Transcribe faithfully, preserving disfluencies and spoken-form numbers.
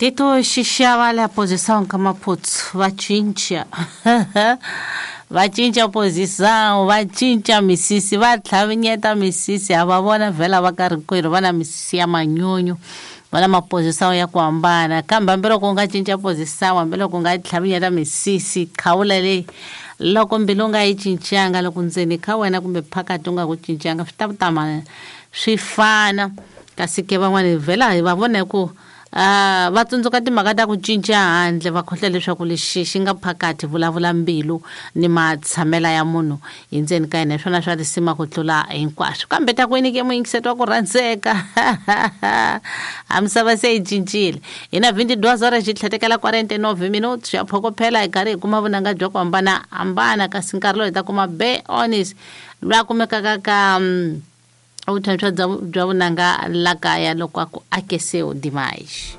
Tito Xixava la posição Kamaputs va cinca va cinca posição va cinca misisi va tlhavinyeta misisi ha va vona vhela va karhi kwerhu va na misisi ya manyunyu va na maposição ya ku hambana kambe hambiloko u nga cinca posição hambiloko u nga tlhavinyeta misisi khawula leyi loko mbilu u nga yi cincanga loko ndzeni ka wena kumbe phakathi u nga ku cincanga swi ta tama swi fana kasi ke van'wani vhela hi va vona ku Uh, va tsundzuka timhaka ta ku cinca handle va khohlwa leswaku lexi xi nga phakathi vulavula mbilu ni matshamela ya munhu hi ndzeni ka yena hi swona swa risima ku tlula hinkwaswo kambe ta ku yini ke muyingiseti wa ku rhandzeka a misava se yi cincile hi na vinti-deux horas xi tlhetekela quarante-nove minutos ya phokophela hi karhi hi kuma vunanga bya ku hambanahambana kasi nkarhi lowu hi ta kuma be honest loyi a kumekaka ka um, vutshantshwa bya vunanga la kaya loko a ku akeseu demais.